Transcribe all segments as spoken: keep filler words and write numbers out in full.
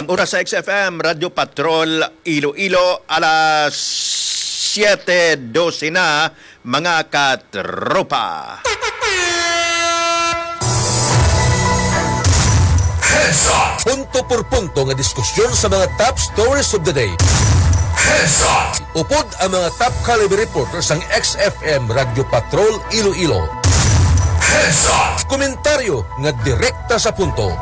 Oras sa X F M, Radyo Patrol, Iloilo, alas siete dose na, mga katropa. Heads Up! Punto por punto nga diskusyon sa mga top stories of the day. Heads Up! Upod ang mga top caliber reporter sang X F M Radyo Patrol Iloilo. Heads Up! Komentaryo nga direkta sa punto.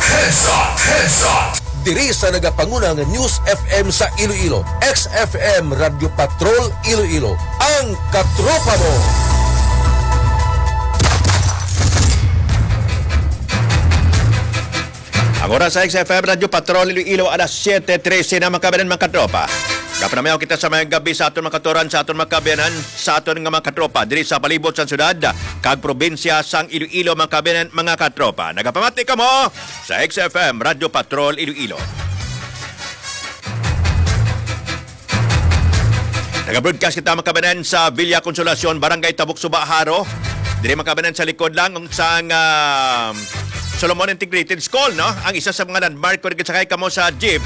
Heads Up! Heads Up! Diri sa nagapanguna nga News F M sa Iloilo, X F M Radyo Patrol Iloilo, ang katropa mo. Ang oras sa X F M Radyo Patrol Iloilo, alas siete trese na, mga kababayan, mga katropa. Kapanamayaw kita sa mayong gabi sa aton mga katuran, sa aton mga kababayan, sa aton nga mga katropa diri sa palibot sa syudad kag probinsya sang Iloilo, mga kababayan, mga katropa. Nagapamati kamo sa X F M Radyo Patrol Iloilo. Nag-broadcast kita, mga kababayan, sa Villa Consolacion, Barangay Tabuk Suba, Jaro. Diri, mga kababayan, sa likod lang sang, ah, Solomon Integrated School, no? Ang isa sa mga landmark kung nagsakay kamo sa jeep,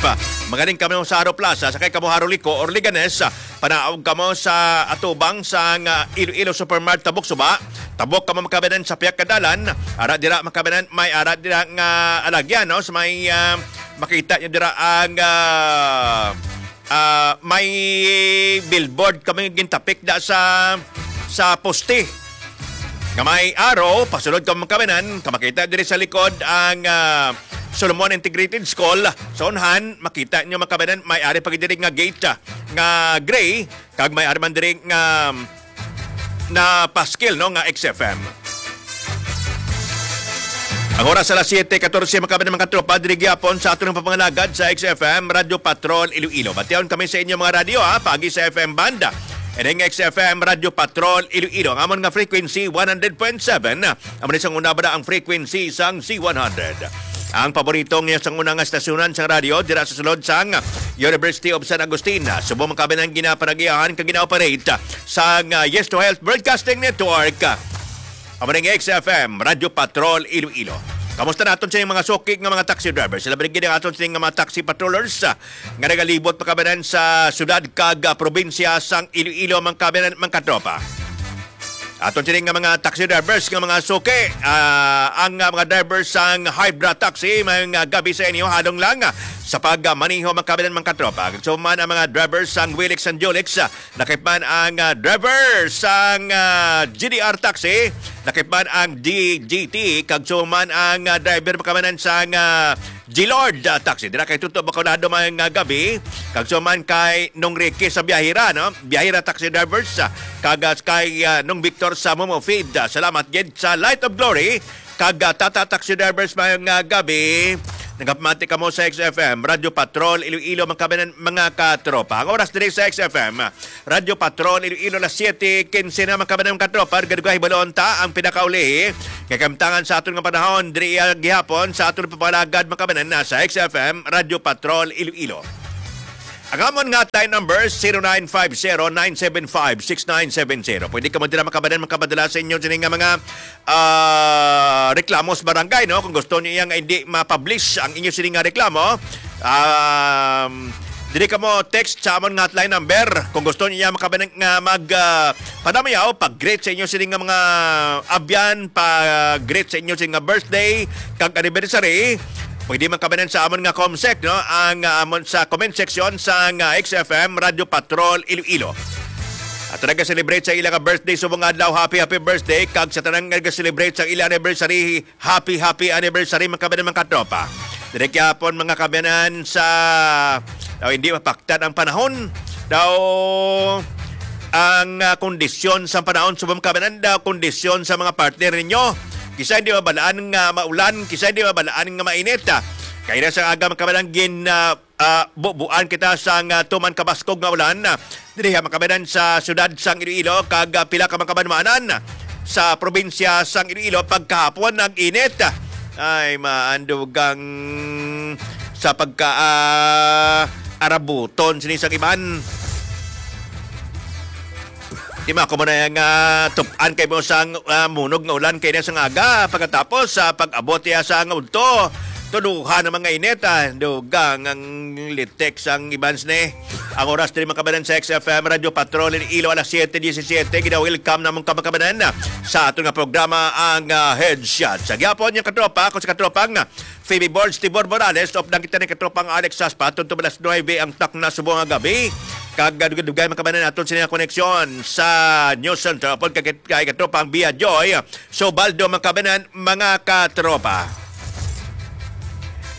magaling kamo sa Jaro Plaza, sakay kamo Jaro Liko or Leganes, panaog kamo sa atubang sang, ah, Iloilo Supermart Tabuk Suba. Tabok kamo, mga kababayan, sa pihak nga dalan. Ara dira, mga kababayan, may ara dira nga alagyan, no? Sa may, ah, makita nyo dira ang, ah, ah, may billboard kami gintapik da sa, sa poste nga may arrow, pasulod ka, mga kababayan, kamakita diri sa likod ang, ah, Solomon Integrated School. Sa unhan, makita nyo, mga kababayan, may ari pa gid diri nga gate, ah, nga gray, kag may ari man diri nga, na paskil, no, nga X F M. Ang oras alas siete katorse, mga kababayan, mga katropa, diri gyapon sa aton nga pagpangalagad sa X F M Radyo Patrol Iloilo. Batiaon kami sa inyo mga radyo, ha, paagi sa F M band. Ining X F M Radyo Patrol Iloilo. Ang amon nga frequency, one hundred point seven. Amo ni sang una ba ang frequency sang Z one hundred. Ang paborito niya sang una nga stasyonan sang radyo dira sa sulod sang University of San Agustin. Subong, mga kababayan, ang ginapanagiahan kag gina-operate sang, ah, Yes to Health Broadcasting Network. Amo ning X F M, Radyo Patrol, Iloilo. Kamusta naton sa mga suki nga mga taxi driver? Sila brigid ang aton sa mga taxi patrollers, ah, nga nagalibot, mga kababayan, sa syudad kag, ah, probinsya sang Iloilo, mga kababayan, mga katropa. Aton sini nga mga taxi drivers nga mga suki, ah, ang, ah, mga drivers sang Hybra Taxi, may nga gabi sa inyo, halong lang, ah, sa pagmaneho, mga kababayan, mga katropa. Kag suman ang mga drivers sang Wilix and Julix, ah, lakip man ang, ah, driver sang, ah, G D R Taxi, lakip man ang D G T, kag suman ang, ah, driver, mga kababayan, sang, ah, G-Lord, ah, Taxi. Dira kay Tuto Bacolado, mga gabi. Kag suman kay Nong Ricky sa Biyahira, no? Biyahira Taxi Drivers, ah, kag, ah, kay, ah, Nong Victor sa Momo Feed. Ah, salamat gid sa Light of Glory kag, ah, Tata Taxi Drivers, mga gabi. Nagapamati kamo sa X F M, Radyo Patrol, Iloilo, mga kababayan, mga katropa. Ang oras diri sa X F M, Radyo Patrol, Iloilo, alas siete quince na, mga kababayan, mga katropa. Gadugahi balon ta ang pinakauli nga kahimtangan sa aton nga panahon diri, ah, gihapon sa aton pagpangalagad, mga kababayan, na sa X F M Radyo Patrol Iloilo. Ang amon nga hotline number, zero nine five zero, nine seven five, six nine seven zero. Pwede kamo dira, mga kababayan, makapadala sa inyo sini nga mga, ah, reklamo sa barangay, no? Kung gusto niyo nga hindi ma-publish ang inyo sini nga reklamo, um, diri kamo text sa amon nga hotline number. Kung gusto niyo, mga kababayan, nga mag, ah, panamayaw, pag-greet sa inyo sini nga mga abyan, pag-greet sa inyo sini nga birthday kag anniversary, pwede man kababayan sa amon nga comsec, no? Ang, ah, amon sa comment section sa nga X F M Radyo Patrol Iloilo. At nag-celebrate sa ila nga birthday subong adlaw, happy, happy birthday. Kag sa tanang nag-celebrate sa ila anniversary, happy, happy anniversary, mga kababayan, mga katropa. Diri gyapon, mga kababayan, sa, daw hindi mapaktan ang panahon. Daw ang, ah, kondisyon sa panahon, subong, mga kababayan, daw kondisyon sa mga partner ninyo. Kisa hindi mabalaan nga maulan, kisa hindi mabalaan nga mainit, ah. Kaya na sa aga, mga kababayan, gin, ah, ah, bubuan kita sang, ah, tuman kabaskog nga ulan, ah, diri, mga kababayan, sa siyudad sang Iloilo kag, ah, pila ka mga kabanwanan sa probinsya sang Iloilo pagkahapon nag-init. Ay, maandugang sa pagka, ah, arabuton sini sang iban. Di, mga kababayan, nga tup-an kay mo sang, ah, munog nga ulan kay na sang aga, pagkatapos sa pag-abot niya sa nga udto, Tuduhan ang mga init, ah. Dugang ang litik sang Evans ni. Ang oras diri, mga kabanan, sa X F M Radyo Patrol Iloilo, alas siete diecisiete. Gina-welcome namon ka, mga kabanan, sa aton nga programa, ang, ah, Headshot. Sa gyapon, yung katropa, ako sa katropang, ah, Phoebe Borge, Tibor Morales, updan kita ni katropang Alex Saspa, tungtong alas nuebe ang takna subong nga gabi. Kag dugay-dugay, mga kabanan, aton sini nga koneksyon sa News Center. Upod kay, kay katropang Bia Joy, Sobaldo, mga kabanan, mga katropa.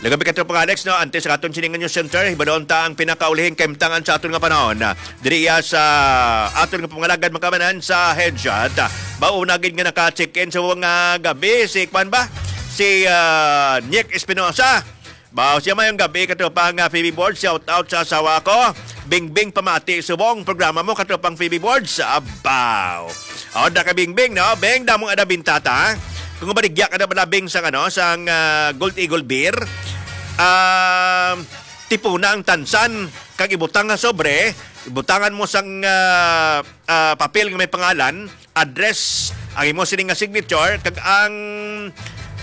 Lagabi, katropang Alex, no, antes sa aton sini nga News Center, hibaluon ta ang pinakaulihing kahimtangan sa aton nga panahon. Diri iya sa aton nga pangalagad, mga kabanan, sa Headshot. Bauna gid nga naka-check-in sa mga gabi, si kwan ba? Si, ah, Nick Espinosa. Baw siya, mayong gabi, katropang, ah, Phoebe Borge. Shout out sa asawa ko. Bingbing, pamati subong programa mo, katropang Phoebe Borge. Abaw. O, da ka, Bingbing, no? Beng, damo nga nabintata, ha? Kung maligya ka na malabing sang, ano, sang, ah, Gold Eagle Beer, ah, tipuna ang tansan, kag ibutang nga sobre, ibutangan mo sang, ah, ah, papel nga may pangalan, address, ang imo sining nga signature, kag ang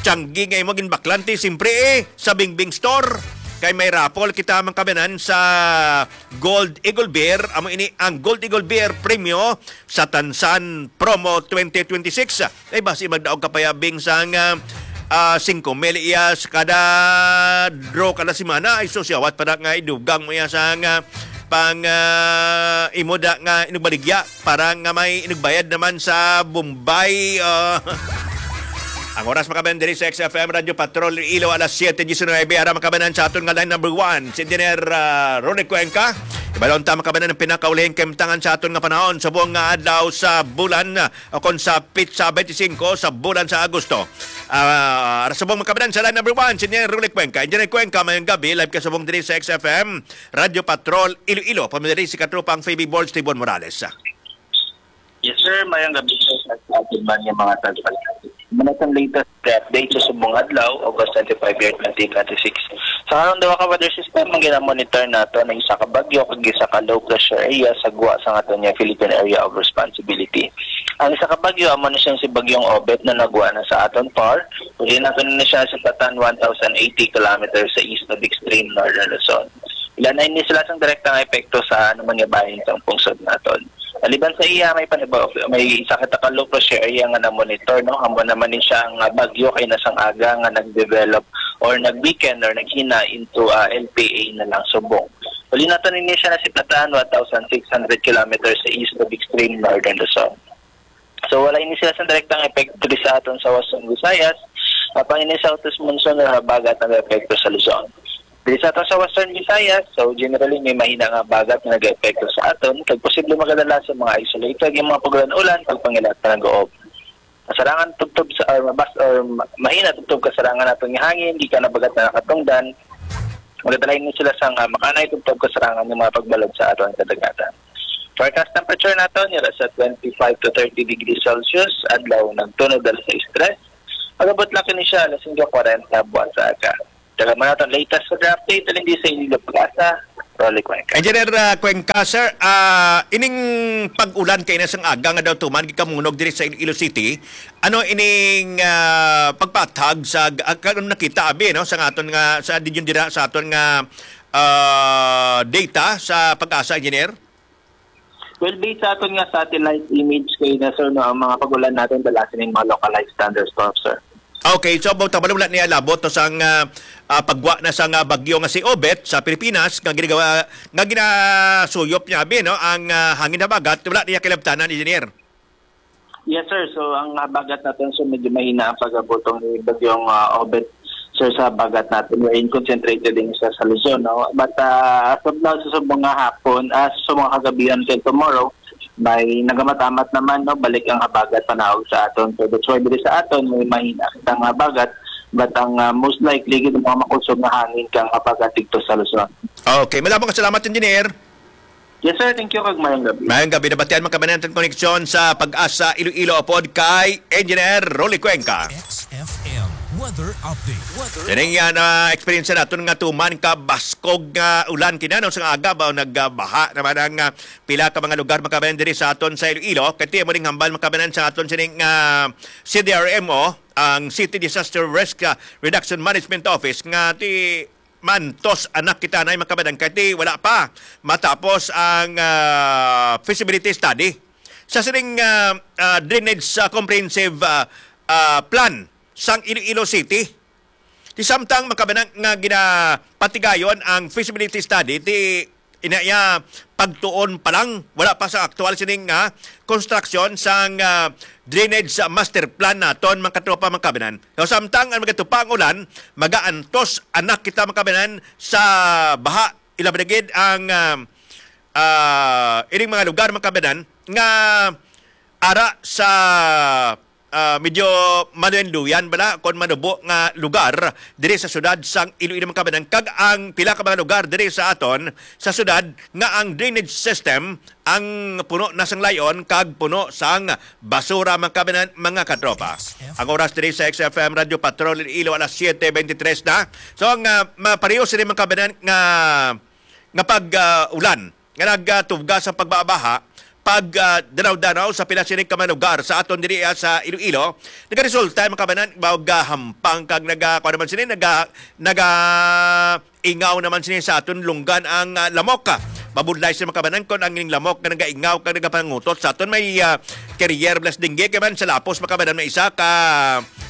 tiyanggi nga imo ginbaklan ti, simpre, eh, sa Bingbing Store. Kay may raffle kita, mga kabanan, sa Gold Eagle Beer. Amo ini ang Gold Eagle Beer Premyo sa Tansan Promo twenty twenty-six. Ay, basi magdaog ka pa ya, Bing, sang, ah, ah, singko mil iya sa kada draw kada semana. Ay, sus, yawat pa na nga idugang mo iya sang, ah, pang, ah, imo da nga inugbaligya para nga may inugbayad naman sa Bombay, ah. Ang oras, mga kabanan, diri sa X F M Radyo Patrol Iloilo, alas siete diecinuebe. Ara, mga kabanan, sa aton nga line number one, si Engineer, ah, Ronnie Cuenca. Ibalon ta, mga kabanan, ang pinakaulihing kahimtangan sa aton nga panahon subong nga adlaw sa bulan, ah, o kon sa petsa twenty-five sa bulan sa Agosto. Ah, ara subong, mga kabanan, sa line number one, si Engineer Ronnie Cuenca. Engineer Cuenca, mayong gabi, live ka subong diri sa X F M Radyo Patrol Iloilo. Pamili si katropang Phoebe Borge, Tibon Morales. Yes, sir. Mayong gabi, sir, sa aton man nga mga tagapakinig. Muna sa latest update sa subong adlaw, August twenty-five, year twenty twenty-six. Sa karong duha ka weather system, ang ginamonitor nato ang isa ka bagyo kag isa ka low pressure area sa gwa sa aton nga Philippine Area of Responsibility. Ang isa ka bagyo, amo na siya si Bagyong Obet na nagwa na sa aton par. Pwede nato na siya sa patan one thousand eighty kilometers sa east of extreme northern Luzon. Wala na ini sila sang direktang epekto sa ano man nga bahin sang pungsod naton. Maliban sa iya, may panibaw, may isa ka low pressure area nga na-monitor, no? Amo naman ni siya nga bagyo kay nasang aga nga nag-develop or nag-weaken or naghina into, ah, L P A na lang subong. Uli nato nini siya na si Patan, one thousand six hundred kilometers sa east of extreme northern Luzon. So, wala ini sila sa direktang epekto diri sa aton sa Western Visayas. Apang ini sa Southeast monsoon or habagat nag-epekto sa Luzon. Diri sa aton sa Western Visayas, so generally may mahina nga habagat nga nag-epekto sa aton, kag posible magadala sa mga isolated nga mga pag-ulan-ulan, pagpangilat pa nag-uob. Kasarangan tubtob sa, or mabas, or ma-, mahina tubtob kasarangan naton nga hangin, gikan habagat na nakatungdan. Magadala ini sila sa nga makanay tubtob kasarangan nga mga pagbalod sa aton kadagatan. Forecast temperature naton, nira sa twenty-five to thirty degrees Celsius, adlaw nagtunod alas sais tres. Magabot lang kini siya alas singko kwarenta buwan sa aga. Dagan man naton latest weather update, alin di sa inyo Pag-asa, Rolly Cuenca. Engineer, ah, Cuenca, sir, ah, ining pag-ulan kay nasang aga nga daw tuman gikamunog diri sa Iloilo City. Ano ining, ah, pagpatag sa, ah, kanang nakita abi, no, sa aton nga, sa dinyon dira sa aton nga, ah, data sa Pag-asa, Engineer? Well, based sa aton nga satellite image kay na, sir, no, ang mga pag-ulan naton dala sining mga localized thunderstorms, sir. Okay, so about wala niya labot to sang, ah, ah, pagwa na sa nga bagyo nga si Obet sa Pilipinas nga ginagawa nga ginasuyop niya abi, no, ang, ah, hangin habagat, wala niya kilabtanan, Engineer. Yes, sir. So, ang habagat naton, so medyo mahina ang pag-abot ni Bagyong, ah, Obet, sir, sa habagat naton, wherein concentrated din sa, sa Luzon, no? But, ah, as of now, sa subong nga hapon, ah, sa subong nga kagabihan kay tomorrow, may nagamamat-amat naman, no? Balik ang habagat panahog sa aton. So, that's why diri sa aton, may mahina ang habagat, but ang, ah, most likely, gid ang mga makusog nga hangin kang habagat dito sa Luzon. Okay, malabong ka salamat, Engineer. Yes, sir. Thank you, kag mayong gabi. Mayong gabi. Nabatian man kami natin koneksyon sa Pag-asa Iloilo upod kay Engineer Rolly Cuenca. X F M. Weather update. Weather Kini nga na-experience naton nga tuman ka baskog nga ulan kinano sa aga ba, nagbaha naman ang, ah, pila ka mga lugar, mga kabayan, diri sa aton sa Iloilo. Kay ti mo ning hambal, mga kabayan, sa aton sining, ah, C D R M O, ang City Disaster Risk, ah, Reduction Management Office, nga ti mantos anak kita na, mga kabayan, kay ti wala pa matapos ang, ah, feasibility study sa sining, ah, ah, drainage, ah, comprehensive, ah, ah, plan sang Iloilo City. Ti samtang, mga kabayan, nga ginapatigayon ang feasibility study, ti ina iya pagtuon pa lang, wala pa sa aktual sining nga konstruksyon sang, ah, drainage master plan naton, mga katropa, mga kabayan. So, samtang ang magatupa ang ulan, magaantos anak kita, mga kabayan, sa baha, ilabi na gid ang, ah, ah, ining mga lugar, mga kabayan, nga ara sa, ah, medyo manuenduyan bala kon manubo nga lugar diri sa syudad sang Iloilo, mga kabayan, kag ang pila ka mga lugar diri sa aton sa syudad nga ang drainage system ang puno na sang layon kag puno sang basura, mga kabayan, mga katropa. Ang oras diri sa X F M Radio Patrol Iloilo, alas siete veintitrés na. So, ang, ah, mapareho sini, mga kabayan, nga nga pag, ah, ulan nga nagatuga sa pagbabaha, pag, ah, danaw-danaw sa pila sini ka mga lugar sa aton diri, ah, sa Iloilo, nagaresulta, mga kabayan, og, ah, hampang kag naga, kuwan naman sini, naga, naga ingaw naman sini sa aton lunggan ang, ah, lamok. Mabudlay sini, mga kabayan, kon ang ining lamok nga nagaingaw kag nagapangutot sa aton may, ah, carrier plus dengue, kay man sa lapos, mga kabayan, may isa ka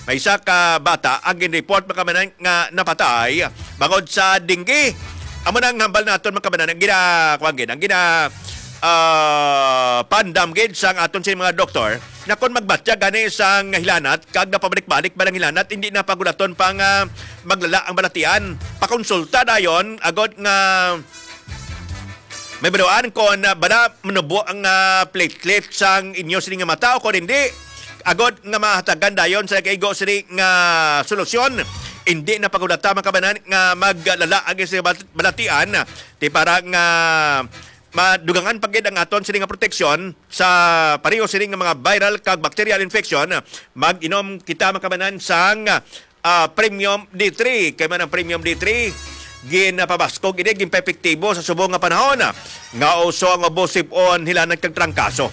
may isa ka bata ang gin-report, mga kabayan, nga napatay bangod sa dengue. Amo na ang hambal naton, mga kabayan, ang gina, kuwan gid, ang gina, ah, pandam gid sang aton sini mga doktor na kon magbatya gani sang hilanat kag napabalik-balik ba ang hilanat, hindi na pagulaton pang, ah, maglala ang balatian. Pakonsulta dayon agod nga may baluan kon, ah, bala manubo ang, ah, platelet sang inyo sini nga mata o kon hindi, agod nga mahatagan dayon sa nagaigo sini nga solusyon. Hindi na pagulata, mga kabayan, nga maglala ang inyong bal-, balatian, ti para nga madugangan pa gid ang aton sini nga proteksyon sa pareho sini nga mga viral kag bacterial infection. Mag-inom kita, mga kabayan, sang ah, Premium D three. Kay man ang Premium D three, ginapabaskog ini, ginpaepektibo sa subong nga panahon, ah, nga uso ang ubo, sip-on, hilanat kag trangkaso.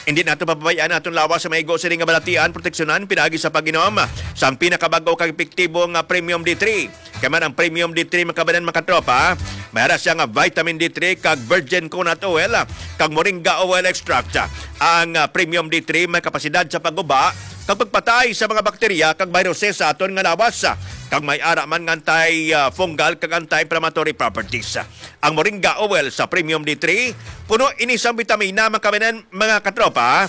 Hindi nato pababayaan aton lawas sa maigo sini nga balatian, proteksyonan pinaagi sa pag-inom sang pinakabag-o kag epektibo nga Premium D three. Kay man ang Premium D three, mga kabayan, mga katropa, may ara siya nga vitamin D three kag virgin coconut oil, ah, kag moringa oil extract. Ang, ah, Premium D three may kapasidad sa pagguba kag pagpatay sa mga bakterya kag viruses sa aton nga lawas, kag may ara man nga anti-fungal kag anti-inflammatory properties. Ang moringa oil sa Premium D three, puno ini sang bitamina, mga kabayan, mga katropa,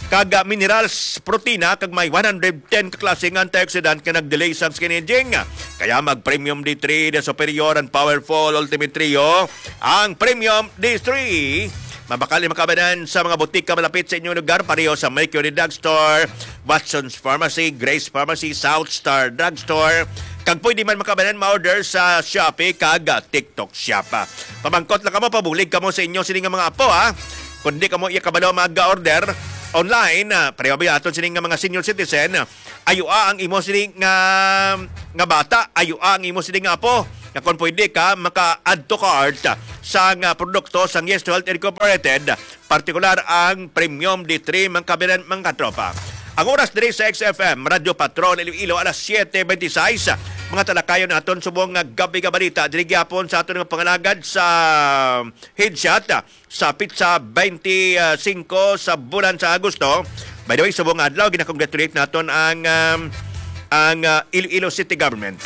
kag, ah, minerals, protina, kag may one hundred ten ka klase nga antioxidant nga nag-delay sang skin aging. Kaya mag Premium D three, the superior and powerful ultimate trio, ang Premium D three. Mabakal ni, mga kabayan, sa mga butika malapit sa inyong lugar, pareho sa Mercury Drugstore, Watson's Pharmacy, Grace Pharmacy, South Star Drugstore, kag pwede man, mga kabayan, ma-order sa Shopee kag, ah, TikTok Shop. Pamangkot lang kamo, pabulig kamo sa inyo sini nga mga apo, ha. Kung di kamo iya kabalo mag-order online, ah, pareho ba aton sini nga mga senior citizen, ayua ang imo sini nga, nga bata, ayua ang imo sini nga apo. Nga kung pwede ka, maka-add to cart sa nga produkto sang Yes to Health Incorporated, partikular ang Premium D three, mga kabayan, mga katropa. Ang oras diri sa X F M, Radyo Patrol, Iloilo, alas siete veintiséis. Mga talakayon naton subong nga gab-i nga balita, diri gyapon sa aton nga pangalagad sa headshot, sa petsa twenty-five sa bulan sa Agosto. By the way, subong nga adlaw, ginakongratulate naton ang, um, ang, uh, Iloilo City Government.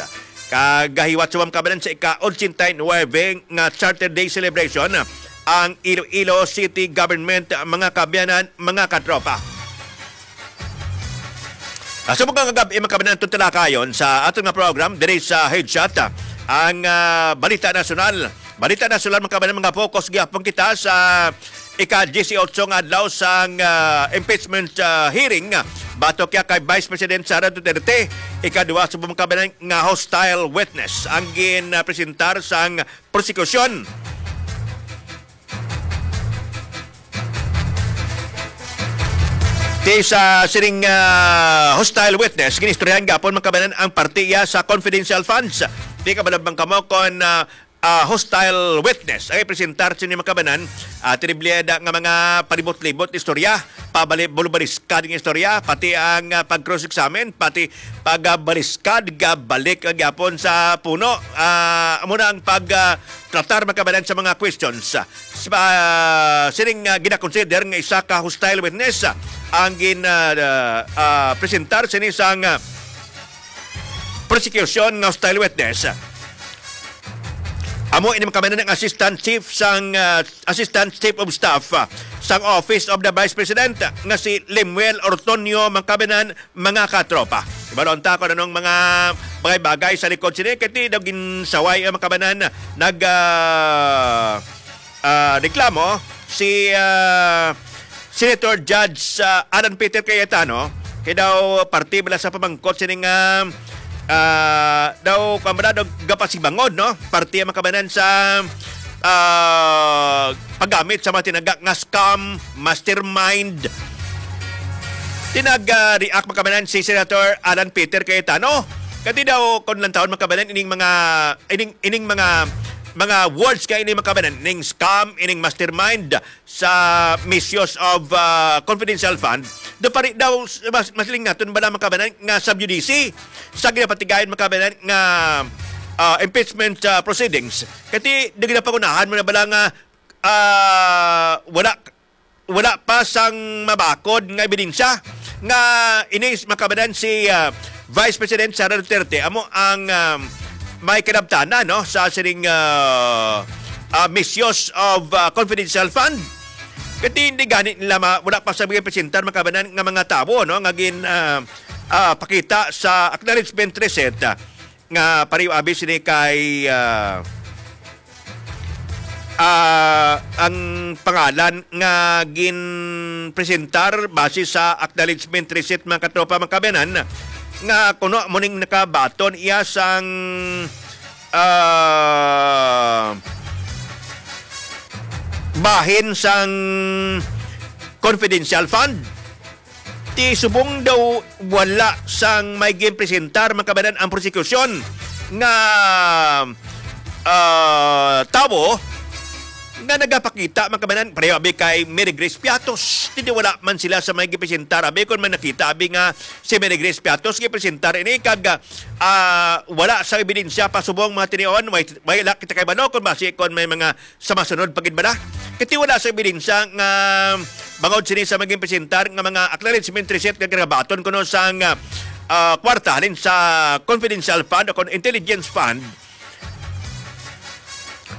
Kagahiwat sa mga kabayan sa ika-ochenta y nuebe nga Charter Day celebration ang Iloilo City Government, mga kaabyanan, mga katropa. Ah, subong nga gab-i, mga kaabyanan, itong talakayon sa aton nga program diri sa Headshot, ah, ang, ah, Balita Nasyonal. Balita Nasyonal, mga kaabyanan, mga focus gyapon kita sa ika-diyesiyotso nga adlaw sang, ah, impeachment, ah, hearing, ah, batok ya kay Vice President Sara Duterte. Ikaduha sa mga kaabyanan nga hostile witness ang gin, ah, presentar sang prosekusyon. Sa sining, ah, hostile witness, ginistoryahan gapon, mga kabanan, ang parte iya sa confidential funds. Di ka malabang kamo kon, ah, ah, hostile witness ang ipresentar sa inyo, mga kabanan. Ah, tinibleda nga mga palibot-libot istorya, pabali-, bulubaliskad nga istorya, pati ang, ah, pag-cross-examine, pati pag-, ah, baliskad, gabalik, ah, gyapon sa puno. Ah, amo na ang pag, ah, tratar, mga kabanan, sa mga questions. Sa, sining, ah, ginakonsider nga isa ka hostile witness, ah, ang gin, ah, ah, ah, presentar sini sang, ah, prosecution nga hostile witness. Amo ini, mga kabanan, ang assistant chief sang, ah, assistant chief of staff, ah, sang Office of the Vice President, ah, nga si Lemuel Ortonio, mga kabanan, mga katropa. Ibalon ta kung anong mga bagay-bagay sa likod sini. Kay ti daw ginsaway ang, mga kabanan, nag, ah, ah, reklamo si, ah, Senator Judge, ah, Alan Peter Cayetano, kay daw parte bala sa pamangkot sini nga, ah, daw, kung bala daw gapasibangon, no? Parte ang, mga kabanan, sa, ah, paggamit sa mga tinaga nga scam mastermind. Tinag, ah, react, mga kabanan, si Senator Alan Peter Cayetano. Kati daw, kung lantawon, mga kabanan, ining mga, ining, ining mga, mga words ka ini, mga kabanan, ining scam, ining mastermind sa misuse of, ah, confidential fund. Do pari daw, mas, mas lingnaton bala, mga kabanan, nga sub judice sa ginapatigayon, mga kabanan, nga, ah, impeachment, ah, proceedings. Kati, di ginapangunahan mo na bala nga, ah, wala wala pa sang mabakod nga ebidensya nga ini, mga kabanan, si, ah, Vice President Sara Duterte amo ang, um, may kinabtanan, no, sa sining, ah, ah, misuse of, ah, confidential fund. Kati hindi gani nila ma-, wala pa sa mga presentar, mga kabanan, nga mga tawo, no, nga gin, ah, ah, pakita sa acknowledgement receipt, ah, nga pareho abi sini kay, ah, ah, ang pangalan nga ginpresentar base sa acknowledgement receipt, mga katropa, mga kabanan, nga kuno mo ning nakabaton iya sang, ah, bahin sang confidential fund. Ti subong daw wala sang may ginpresentar, mga kabanan, ang prosekusyon nga, ah, tawo nga nagapakita, mga kabanan, pareho abi kay Mary Grace Piatos. Ti wala man sila sa may gipresentar. Abi, kung may nakita, abi, nga si Mary Grace Piatos gipresentar ini kag, ah, wala sa ebidensya pa subong, mga tinion, may, may la kita kay balo kung basi kung may mga sa masunod pa gid bala. Kay ti wala sa ebidensya nga bangod sini sa maging presentar nga mga acknowledgement receipt nga ginabaton kuno sang, ah, kwarta halin sa confidential fund o kon intelligence fund.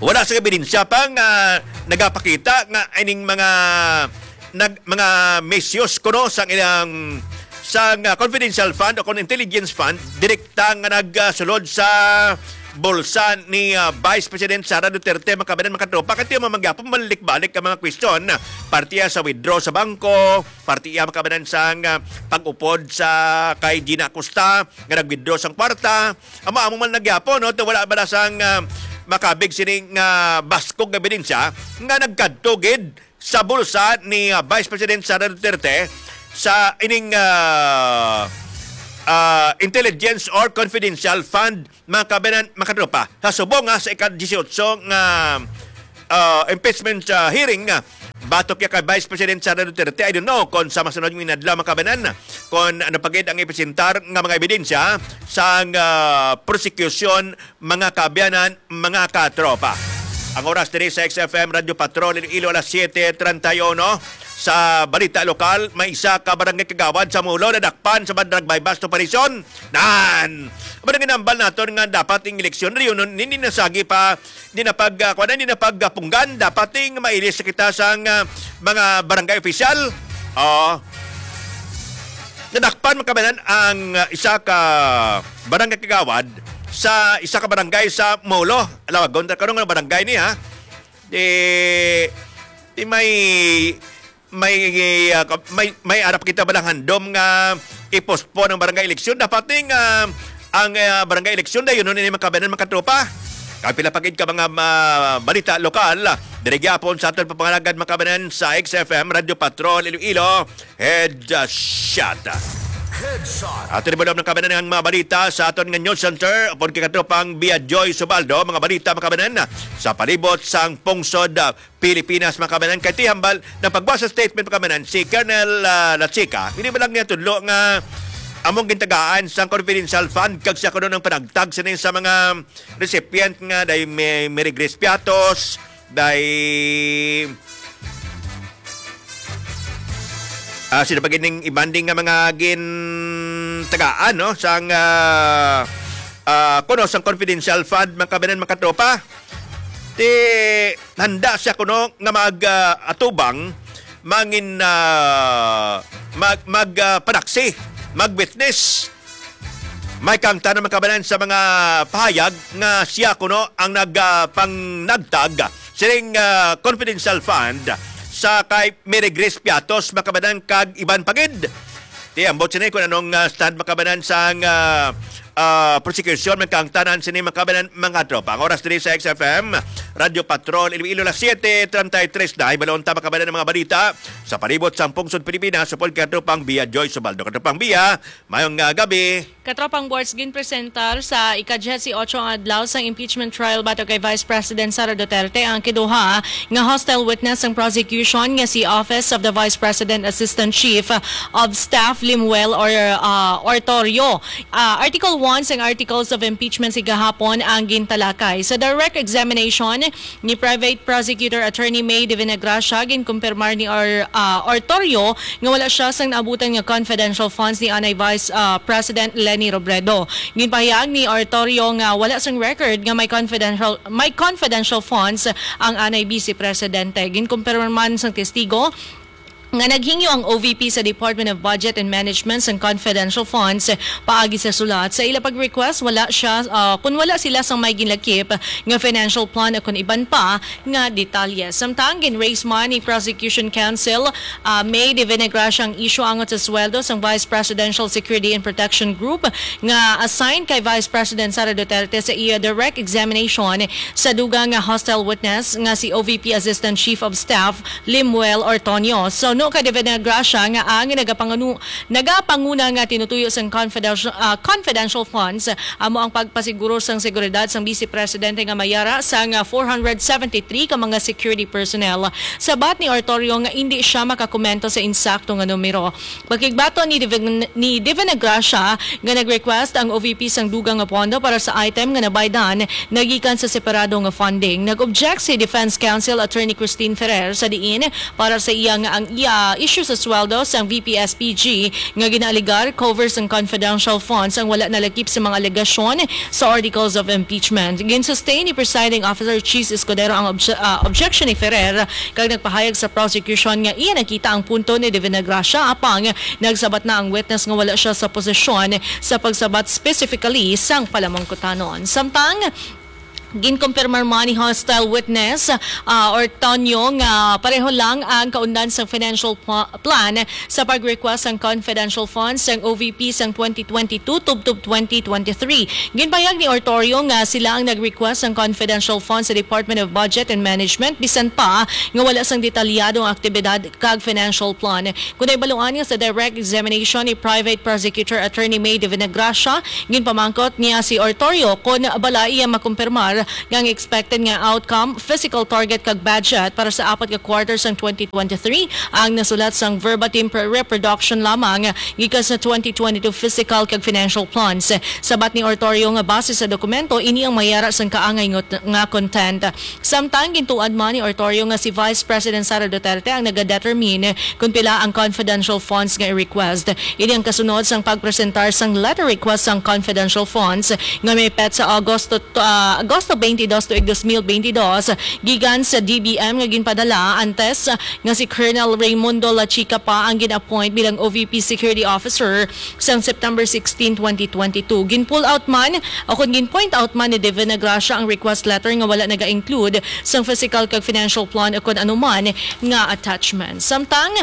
Wala sa ebidensya pa nga nagapakita nga ining mga nag-, mga misuse kuno sang ilang sang, ah, confidential fund o kon intelligence fund direkta nga nagsulod sa bulsa ni, ah, Vice President Sara Duterte, mga kabanan, mga katropa. Kay ti amo man gyapon, balik-balik ang mga question. Parte iya sa withdraw sa bangko, parte iya, mga kabanan, sang, ah, pag-upod sa kay Gina Acosta nga nag-withdraw sang kwarta. Amo-amo man na gyapon, no? Ti wala bala sang, ah, makabig sining, ah, baskog nga ebidensya nga nagkadto gid sa bulsa ni, ah, Vice President Sara Duterte sa ining, ah, ah, intelligence or confidential fund, mga kabanan, mga katropa. Sa subong nga sa ika-dieciocho nga, ah, impeachment, ah, hearing, ah, batok ya kay Vice President Sara Duterte, I don't know kung sa masunod nga inadlaw, mga kabanan, kung ano pa gid ang ipresentar nga mga ebidensya sa, ah, prosecution, mga kaabyanan, mga katropa. Ang oras diri sa X F M Radyo Patrol Iloilo, alas siete treinta y uno. Sa balita lokal, may isa ka barangay kagawad sa Molo nadakpan sa drug buy-bust operation. Nan! Amo nang ginambal naton nga dapat ang eleksyon reunion hindi nasagi pa, hindi na pag, ah, kuwan, hindi na pagpunggan, dapat ang mailis kita sa, ah, mga barangay opisyal. Oo. Nadakpan, mga kabanan, ang, ah, isa ka barangay kagawad sa isa ka barangay sa Molo. Alawagon ta karon nga barangay ni, ha? Di, di may, may, ah, ka-, may, may arap kita balang handom nga i-postpone ang barangay eleksyon. Dapat ting, ah, ang, ah, barangay eleksyon dayon ni, mga kabanan, mga katropa. Kag pila pa gid ka mga, ah, balita lokal, diri gyapon sa aton pagpangalagan, mga kababayan, sa X F M Radyo Patrol Iloilo Headshot. Headshot. Ato ni mga kababayan ang mga balita sa aton nga news center, upod kay katropang Bia Joy Subaldo, mga balita, mga kababayan, sa palibot sang pungsod, ah, Pilipinas, mga kababayan. Kay ti hambal, nagpagwa sa statement, mga kababayan, si Colonel, ah, Lachica, hindi ba lang niya tudlo nga among gintagaan sang confidential fund kag siya kuno ang panagtag sini sa mga recipient nga day may, may regress piatos, day, ah, sino pa gid ning ibanding nga mga gintagaan, no? Sang, ah, ah, kuno sang confidential fund, mga kababayan, mga katropa. Ti handa siya kuno nga mag, ah, atubang, mangin, ah, mag, mag, ah, panaksi, mag-witness. May kaangtanan, mga kababayan, sa mga pahayag nga siya kuno ang nag, ah, pangnagtag sining, ah, confidential fund sa kay Mary Grace Piatos, mga kababayan, kag iban pa gid. Ti ambot sini kung anong, ah, stand, mga kababayan, sang, ah, ah, prosecution, may kaangtanan sini, mga kababayan, mga tropa. Ang oras diri sa X F M Radyo Patrol Iloilo, las siete treinta y tres na. Hibalon ta, mga kababayan, ang mga balita sa palibot sang pungsod Pilipinas, upod kay katropang Bia Joy Subaldo. Katropang Bia, mayong, ah, gabi. Katropang Bords, ginpresentar sa ika-diyesyoto nga adlaw sang impeachment trial batok kay Vice President Sara Duterte ang kiduha nga hostile witness sang prosecution nga si Office of the Vice President Assistant Chief of Staff Lemuel Or-, ah, Ortorio. Ah, Article one sang Articles of Impeachment si gahapon ang gintalakay. Sa direct examination, ni Private Prosecutor Attorney May de Venegracia, ginkumpirmar ni Or-, ah, Ortorio nga wala siya sang naabutan nga confidential funds ni anay Vice, ah, President Leni Robredo. Ginpahayag ni Ortorio nga wala sang record nga may confidential, may confidential funds ang anay Vice Presidente. Ginkumpirmar man sang testigo nga naghingyo ang O V P sa Department of Budget and Management sang confidential funds paagi sa sulat. Sa ila pag-request, wala siya, ah, kun wala sila sang may ginlakip nga financial plan o kun iban pa nga detalye. Samtang gin-raise man ni Prosecution Counsel, ah, May de Venegracia ang isyu angot sa sweldo sang Vice Presidential Security and Protection Group nga assigned kay Vice President Sara Duterte sa iya direct examination sa dugang nga hostile witness nga si O V P Assistant Chief of Staff Lemuel Ortonio. Suno kay de Venegracia nga ang nagapanganu-, nagapanguna nga tinutuyo sang confidential, ah, confidential funds amo ang pagpasiguro sang seguridad sang Vice Presidente nga may yara sang four hundred seventy-three ka mga security personnel. Sabat ni Ortorio nga indi siya makakomento sa insakto nga numero. Pakigbaton ni Divin-, ni Divina Gracia nga nag-request ang O V P sang dugang nga pondo para sa item nga nabaydan nagikan sa separado nga funding. Nag-object si Defense Counsel Attorney Christine Ferrer sa diin para sa iya nga ang iya issue sa sweldo sang V P S P G nga ginaaligar cover sang confidential funds ang wala nalakip sa mga alegasyon sa articles of impeachment. Gin-sustain ni Presiding Officer Chiz Escudero ang obje-, ah, objection ni Ferrer kag nagpahayag sa prosecution nga iya nakita ang punto ni Divina Gracia, apang nagsabat na ang witness nga wala siya sa posisyon sa pagsabat specifically sang palamangkutanon. Samtang ginkumpirmar man ni hostile witness, ah, Ortonio nga pareho lang ang kaundan sang financial pla-, plan sa pag-request sang confidential funds sang O V P sang twenty twenty-two tubtob twenty twenty-three. Ginpahayag ni Ortorio nga sila ang nag-request sang confidential funds sa Department of Budget and Management, bisan pa nga wala sang detalyado nga aktibidad kag financial plan. Kon nahibaluan nga sa direct examination ni Private Prosecutor Attorney May de Venegracia, ginpamangkot niya si Ortorio kon bala iya makumpirmar nga ang expected nga outcome, fiscal target kag budget para sa apat ka quarter sang twenty twenty-three ang nasulat sang verbatim pre-, reproduction lamang gikan sa twenty twenty-two fiscal kag financial plans. Sabat ni Ortorio nga base sa dokumento, ini ang may yara sang kaangay ngot-, nga content. Samtang gintuad man ni Ortorio nga si Vice President Sara Duterte ang nagadetermine kon pila ang confidential funds nga i-request. Ini ang kasunod sang pagpresentar sang letter request sang confidential funds nga may petsa Agosto, ah, Agosto twenty-dos tuig dos mil twenty-dos gikan sa D B M nga ginpadala antes nga si Colonel Raymundo Lachica pa ang gin-appoint bilang O V P Security Officer sang September sixteen, twenty twenty-two. Gin-pull out man o kon gin-point out man ni Divina Gracia ang request letter nga wala naga-include sang physical kag financial plan o kon anuman nga attachment. Samtang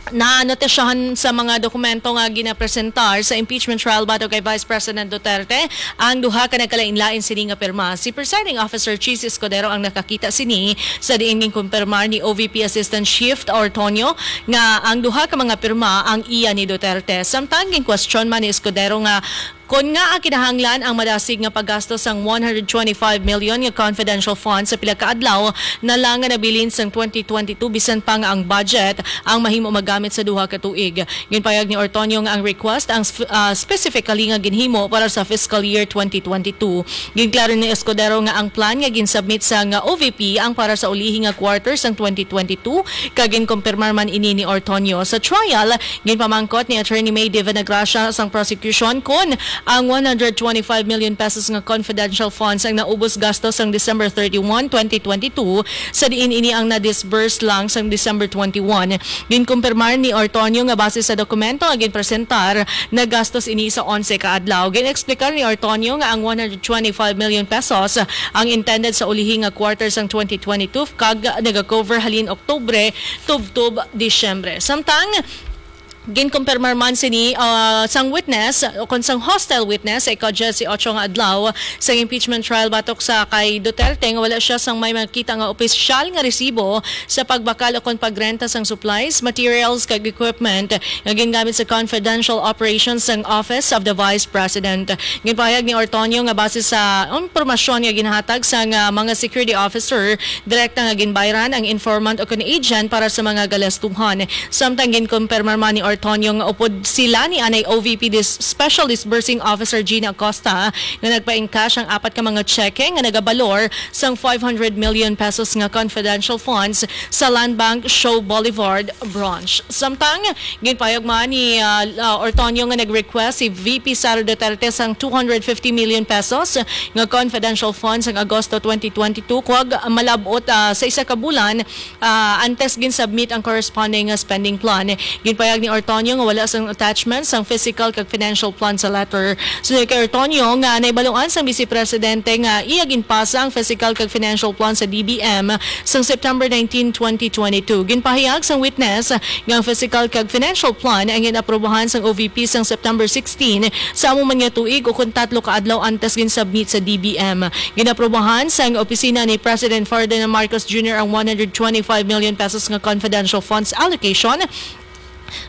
Nanotisyahan sa mga dokumento nga ginapresentar sa impeachment trial batok kay Vice President Duterte ang duha ka nagkalain-lain sini nga pirma. Si Presiding Officer Chiz Escudero ang nakakita sini, sa diin ginkumpirmar ni O V P Assistant Chief Ortonio nga ang duha ka mga pirma ang iya ni Duterte. Samtang ginkwestiyon man ni Escudero nga kon ngaa kinahanglan ang madasig nga paggasto sang one hundred twenty-five million nga confidential funds sa pila ka adlaw na lang nga nabilin sang twenty twenty-two, bisan pa nga ang budget ang mahimo magamit sa duha ka tuig. Ginpayag ni Ortonio nga ang request ang sp-, ah, specifically nga ginhimo para sa fiscal year twenty twenty-two. Ginklaro ni Escudero nga ang plan nga ginsubmit sang O V P ang para sa ulihi nga quarter sang twenty twenty-two, kag ginkumpirmar man ini ni Ortonio. Sa trial, ginpamangkot ni Attorney May Divinagracia sang prosecution kon ang one hundred twenty-five million pesos nga confidential funds ang naubos gasto sang December thirty-one, twenty twenty-two, sa diin ini ang na-disburse lang sang December twenty-one. Ginkumpirmar ni Ortonio nga base sa dokumento nga ginpresentar, nagastos ini sa onse ka adlaw. Gin-explicar ni Ortonio nga ang one hundred twenty-five million pesos ang intended sa ulihi nga quarter sang twenty twenty-two kag naga-cover halin Oktubre tubtob Disyembre. Samtang ginkumpirmar man sini, ah, sang witness o kon sang hostile witness sa ika-diyesyocho nga adlaw sa impeachment trial batok sa kay Duterte nga wala siya sang may makita nga opisyal nga resibo sa pagbakal o kon pagrenta sang supplies, materials, kag equipment nga gingamit sa confidential operations sang Office of the Vice President. Ginpahayag ni Ortonio nga base sa impormasyon nga ginhatag sang, ah, mga security officer, direkta nga ginbayran ang informant o kon agent para sa mga galastuhan. Samtang ginkumpirmar man ni Ortonio nga upod sila ni anay O V P dis-, Special Disbursing Officer Gina Acosta nga nagpa-encash ang apat ka mga tseke nga nagabalor sang five hundred million pesos nga confidential funds sa Land Bank Show Boulevard Branch. Samtang ginpayag man ni, ah, ah, Ortonio nga nag-request si V P Sara Duterte sang two hundred fifty million pesos nga confidential funds sang Agosto twenty twenty-two, kag malab-ot, ah, sa isa ka bulan, ah, antes gin-submit ang corresponding nga spending plan. Ginpayag ni Ortonio nga wala sang attachment sang physical kag financial plan sa letter. Suno kay Ortonio nga nahibaluan sang Vice Presidente nga iya ginpasa ang physical kag financial plan sa D B M sang September nineteen, twenty twenty-two. Ginpahayag sang witness nga ang physical kag financial plan ang gin-aprobahan sang O V P sang September sixteen sa amo man nga tuig, o kon tatlo ka adlaw antes gin-submit sa D B M. Gin-aprobahan sang opisina ni President Ferdinand Marcos Junior ang one hundred twenty-five million pesos nga confidential funds allocation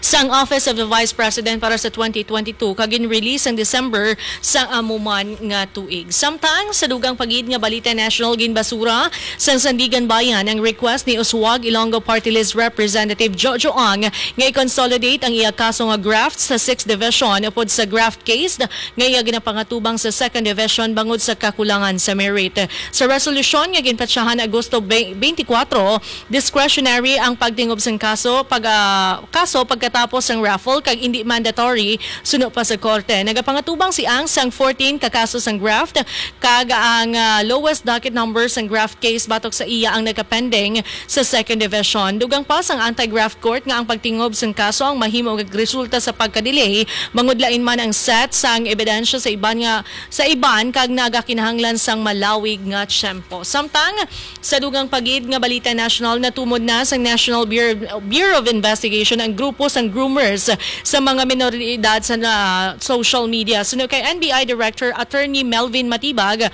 sang Office of the Vice President para sa twenty twenty-two, kag gin-release sang December sa amo man nga tuig. Samtang sa dugang pa gid nga balita national, ginbasura sang Sandiganbayan ang request ni Uswag Ilonggo Party List Representative Jojo Ang nga i-consolidate ang iya kaso nga graft sa Sixth Division upod sa graft case nga iya ginapangatubang sa Second Division bangod sa kakulangan sa merit. Sa resolusyon nga ginpetsahan Agosto twenty-four, discretionary ang pagtingob sang kaso pag, ah, kaso pagkatapos sang raffle kag indi mandatory suno pa sa korte. Nagapangatubang si Ang sang fourteen ka kaso sang graft, kag ang, ah, lowest docket number sang graft case batok sa iya ang nagapending sa Second Division. Dugang pa sang Anti-Graft Court nga ang pagtingob sang kaso ang mahimo nga resulta sa pagka-delay, bangod lain man ang set sang ebidensya sa iban nga, sa iban kag nagakinahanglan sang malawig nga tiyempo. Samtang sa dugang pa gid nga balita national, natumod na sang National Bureau, Bureau of Investigation ang grupo sang groomers sa mga minor de edad sa na, social media. Suno kay N B I Director Attorney Melvin Matibag,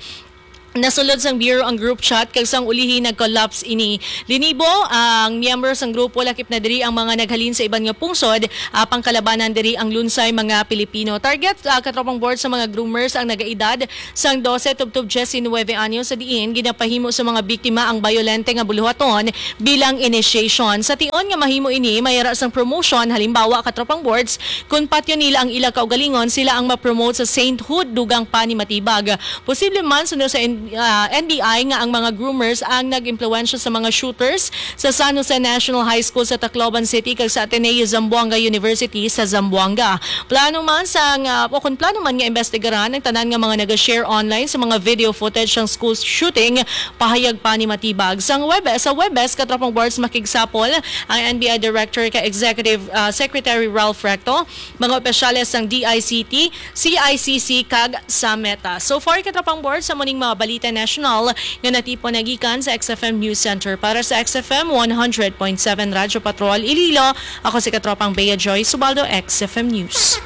nasulod sang Bureau ang group chat kag sang ulihi nag-collapse ini. Linibo ang miyembro sang grupo, lakip na diri ang mga naghalin sa iban nga pungsod, apang kalabanan diri ang lunsay mga Pilipino. Target, ah, katropang board, sa mga groomers ang nagaedad sang dose tubtob diecinuebe anyos, sa diin ginapahimo sa mga biktima ang bayolente nga buluhaton bilang initiation. Sa tion nga mahimo ini, may ara sang promotion, halimbawa, katropang boards, kung patyon nila ang ila kaugalingon, sila ang ma-promote sa sainthood, dugang pa ni Matibag. Posible man, suno sa N-, ah, N B I, nga ang mga groomers ang nag-impluwensya sa mga shooters sa San Jose National High School sa Tacloban City kag sa Ateneo Zamboanga University sa Zamboanga. Plano man sa nga, o kung plano man nga imbestigaran ang tanan nga mga naga-share online sa mga video footage sang school shooting, pahayag pa ni Matibag. Sang Webes, sa Webes, katropang boards, makigsapol ang N B I Director kay Executive, ah, Secretary Ralph Recto, mga opisyales sang D I C T, C I C C kag sa Meta. So far, katropang boards, sa muning mga Balita National nga natipon na gikan sa X F M News Center. Para sa X F M one hundred point seven Radyo Patrol Iloilo, ako si Katropang Bea Joy Subaldo, X F M News.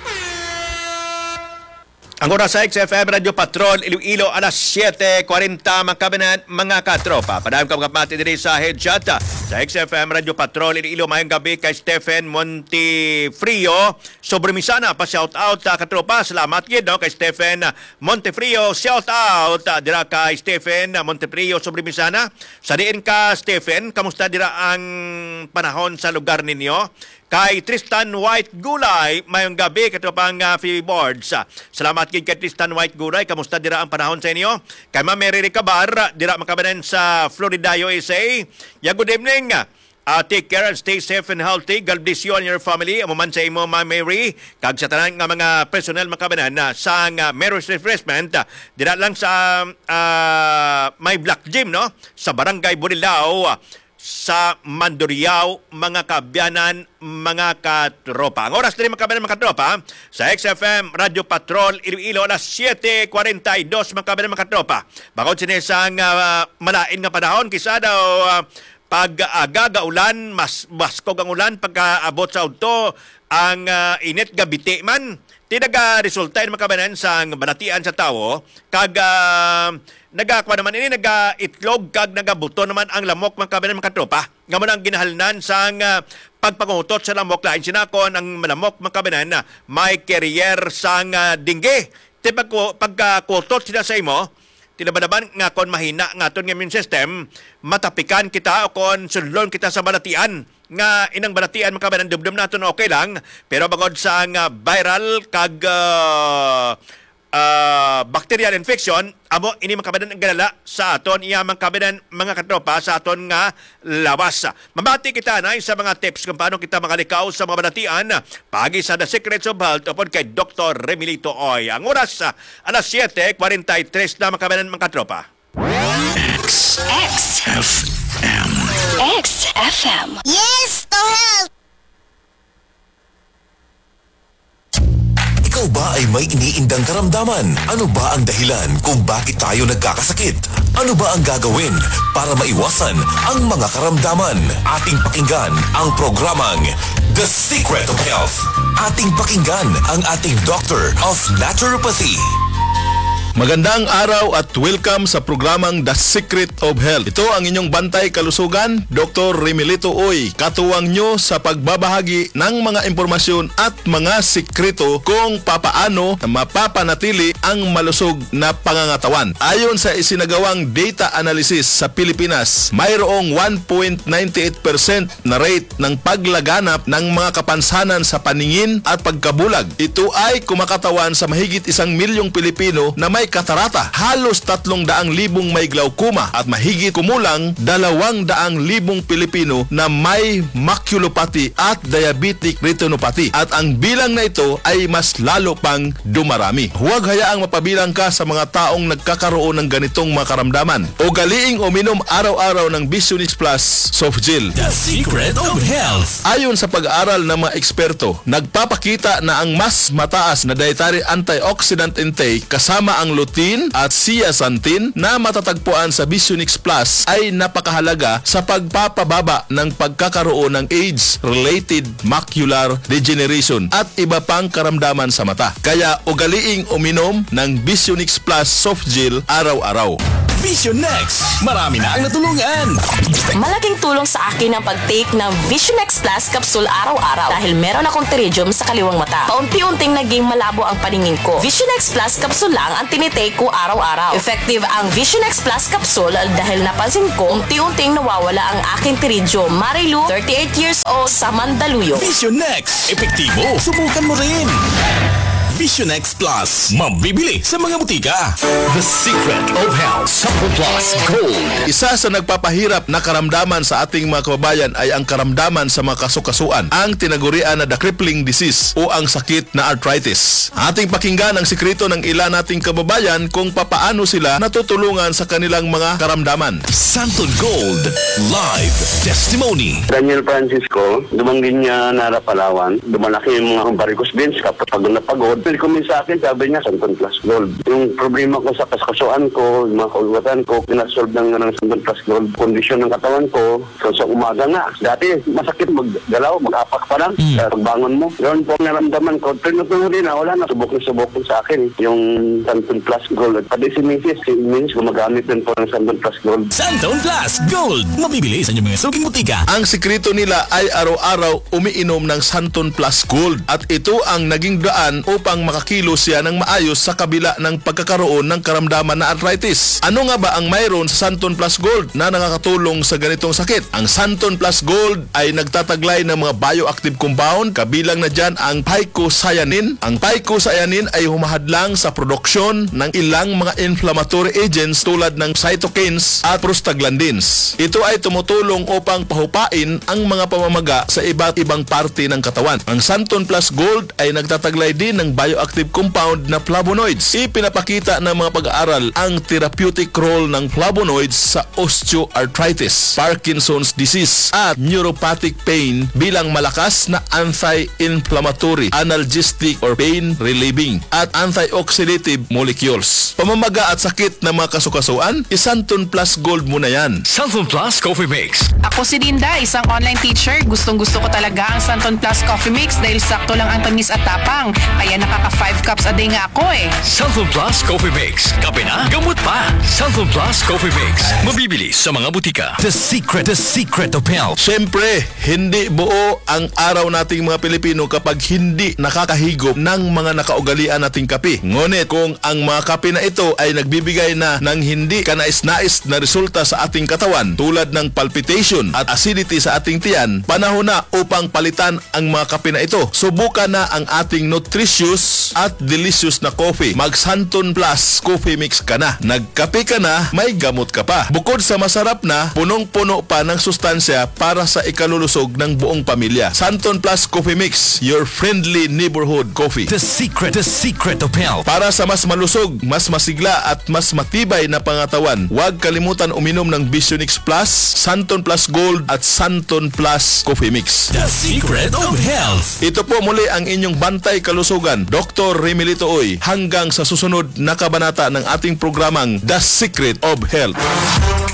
Ang oras sa X F M Radyo Patrol Iloilo, alas siyete kwarenta, mga kababayan, mga katropa. Padayon ka makabati diri sa headshot sa X F M Radyo Patrol Iloilo. Mayong gabi kay Stephen Montefrio Sobremisana, pa shout out, ah, katropa. Salamat gid, no, kay Stephen Montefrio. Shout out, ah, dira kay Stephen Montefrio Sobremisana. Sa diin ka, Stephen? Kamusta dira ang panahon sa lugar ninyo? Kay Tristan White Gulay, mayong gabi, katropang, ah, Phoebe Boards. Ah, salamat gid kay Tristan White Gulay. Kamusta dira ang panahon sa inyo? Kay Ma'am Mary Ricabar, dira, mga kababayan, sa Florida, U S A. Ya, good evening. Ah, take care and stay safe and healthy. God bless you and your family. Amo man sa imo, Ma'am Mary, kag sa tanan nga mga personnel, mga kababayan, na sang, ah, Mary's Refreshment, ah, dira lang sa, ah, may Black Gym, no? Sa Barangay Bulilao, ah, sa Mandurriao, mga kaabyanan, mga katropa. Ang oras diri, mga kaabyanan, mga katropa, sa X F M Radyo Patrol Iloilo, alas siyete kwarenta y dos, mga kaabyanan, mga katropa. Bangod sini sang, ah, malain nga panahon, kisa daw, ah, pag-aga nga ulan, mas baskog ang ulan pagkaabot sa udto, ang, ah, init gabiti man. Ti nagaresulta ini, mga kababayan, sang balatian sa tawo, kag, ah, nagakuha naman ini, nagaitlog kag nagabuto naman ang lamok, mga kababayan, mga katropa. Nga mo nang ginahalnan sang, ah, pagpangutot sa lamok, lain sina kon ang lamok, mga kababayan, na may carrier sang, ah, dengue. Ti pagku-, pagkakutot sila sa imo, tinabandaban nga kon mahina nga aton nga immune system, matapikan kita o kon sudlon kita sa balatian. Nga inang balatian, mga kababayan, dumdum naton okay lang, pero bangod sa nga viral kag, ah, ah, bacterial infection, amo ini, mga kababayan, ang galala sa aton iya, mga kababayan, mga katropa, sa aton nga lawas. Mabati kita na sa mga tips kung paano kita makalikaw sa mga balatian, paagi sa The Secrets of Health upod kay Doktor Remilito Oy. Ang oras, ah, alas siyete kwarenta y tres na, mga kababayan, mga katropa. X. X F M. X F M. Yes to health! Ikaw ba ay may iniindang karamdaman? Ano ba ang dahilan kung bakit tayo nagkakasakit? Ano ba ang gagawin para maiwasan ang mga karamdaman? Ating pakinggan ang programang The Secret of Health. Ating pakinggan ang ating Doctor of Naturopathy. Magandang araw at welcome sa programang The Secret of Health. Ito ang inyong bantay kalusugan, Doktor Remilito Uy, katuwang nyo sa pagbabahagi ng mga impormasyon at mga sikreto kung papaano mapapanatili ang malusog na pangangatawan. Ayon sa isinagawang data analysis sa Pilipinas, mayroong one point nine eight percent na rate ng paglaganap ng mga kapansanan sa paningin at pagkabulag. Ito ay kumakatawan sa mahigit isang milyong Pilipino na may katarata, halos tatlong daang libong may glaucoma, at mahigit kumulang dalawang daang libong Pilipino na may maculopathy at diabetic retinopathy. At ang bilang na ito ay mas lalo pang dumarami. Huwag hayaang mapabilang ka sa mga taong nagkakaroon ng ganitong mga karamdaman. Ugaliing uminom araw-araw ng Visionix Plus Soft Gel. The Secret of Health. Ayon sa pag-aaral ng mga eksperto, nagpapakita na ang mas mataas na dietary antioxidant intake, kasama ang lutein at zeaxanthin na matatagpuan sa Visionix Plus, ay napakahalaga sa pagpapababa ng pagkakaroon ng age-related macular degeneration at iba pang karamdaman sa mata. Kaya ugaliing uminom ng Visionix Plus Soft Gel araw-araw. Vision X, marami na ang natulungan. Malaking tulong sa akin ang pag-take ng Vision X Plus capsule araw-araw dahil meron akong pterygium sa kaliwang mata. Paunti-unting naging malabo ang paningin ko. Vision X Plus capsule lang ang tinitake ko araw-araw. Effective ang Vision X Plus capsule dahil napansin ko unti-unting nawawala ang aking pterygium. Marilu, thirty-eight years old, sa Mandaluyong. Vision X, epektibo. Subukan mo rin. Vision X Plus, mabibili sa mga butika. The Secret of Health Suppleplus Gold. Isa sa nagpapahirap na karamdaman sa ating mga kababayan ay ang karamdaman sa mga kasukasuan, ang tinagurian na the crippling disease o ang sakit na arthritis. Ating pakinggan ang sikreto ng ilan nating kababayan kung papaano sila natutulungan sa kanilang mga karamdaman. Santon Gold Live Testimony. Daniel Francisco, dumanggi niya nara Palawan. Dumalaki yung mga varicose veins, kapag napagod, Recommend sa akin, sabi niya, Santon Plus Gold. Yung problema ko sa kaskasuan ko, yung mga kaulwatan ko, pinasolve ng, ng Santon Plus Gold. Kondisyon ng katawan ko, so sa umaga nga. Dati, masakit maggalaw, mag-apak pa lang. Mm. Sa pagbangon mo. Yun po ang naramdaman ko. Pero nung din na, wala na, subok na subok sa akin. Yung Santon Plus Gold. Pati si misis, si misis gumagamit din po ng Santon Plus Gold. Santon Plus Gold. Mabibili sa inyong mga suking butika. Ang sikreto nila ay araw-araw umiinom ng Santon Plus Gold at ito ang naging daan upang makakilos siya ng maayos sa kabila ng pagkakaroon ng karamdaman na arthritis. Ano nga ba ang mayroon sa Santon Plus Gold na nakakatulong sa ganitong sakit? Ang Santon Plus Gold ay nagtataglay ng mga bioactive compound, kabilang na dyan ang phycocyanin. Ang phycocyanin ay humahadlang sa produksyon ng ilang mga inflammatory agents tulad ng cytokines at prostaglandins. Ito ay tumutulong upang pahupain ang mga pamamaga sa iba't ibang parte ng katawan. Ang Santon Plus Gold ay nagtataglay din ng bioactive compound na flavonoids. Ipinapakita ng mga pag-aaral ang therapeutic role ng flavonoids sa osteoarthritis, Parkinson's disease, at neuropathic pain bilang malakas na anti-inflammatory, analgesic, or pain relieving, at antioxidative molecules. Pamamaga at sakit ng mga kasukasuan, i-Santon Plus Gold mo na yan. Santon Plus Coffee Mix. Ako si Linda, isang online teacher. Gustong-gusto ko talaga ang Santon Plus Coffee Mix dahil sakto lang ang tamis at tapang. Kaya nakaka five cups a day nga ako eh. Santon Plus Coffee Mix. Kape na, gamot pa. Santon Plus Coffee Mix. Mabibili sa mga butika. The secret, the secret of health. Siyempre, hindi buo ang araw nating mga Pilipino kapag hindi nakakahigop ng mga nakaugalian nating kape. Ngunit kung ang mga kape na ito ay nagbibigay na ng hindi kanais-nais na resulta sa ating katawan, tulad ng palpitation at acidity sa ating tiyan, panahon na upang palitan ang mga kape na ito. Subukan na ang ating nutritious at delicious na coffee. Mag Santon Plus Coffee Mix ka na. Nagkape ka na, may gamot ka pa. Bukod sa masarap na, punong-puno pa ng sustansya para sa ikalulusog ng buong pamilya. Santon Plus Coffee Mix, your friendly neighborhood coffee. The secret, the secret of health. Para sa mas malusog, mas masigla at mas matibay na pangatawan, huwag kalimutan uminom ng Visionix Plus, Santon Plus Gold at Santon Plus Coffee Mix. The secret of health. Ito po muli ang inyong bantay kalusugan, Doktor Remy Litoy. Hanggang sa susunod na kabanata ng ating programang The Secret of Health.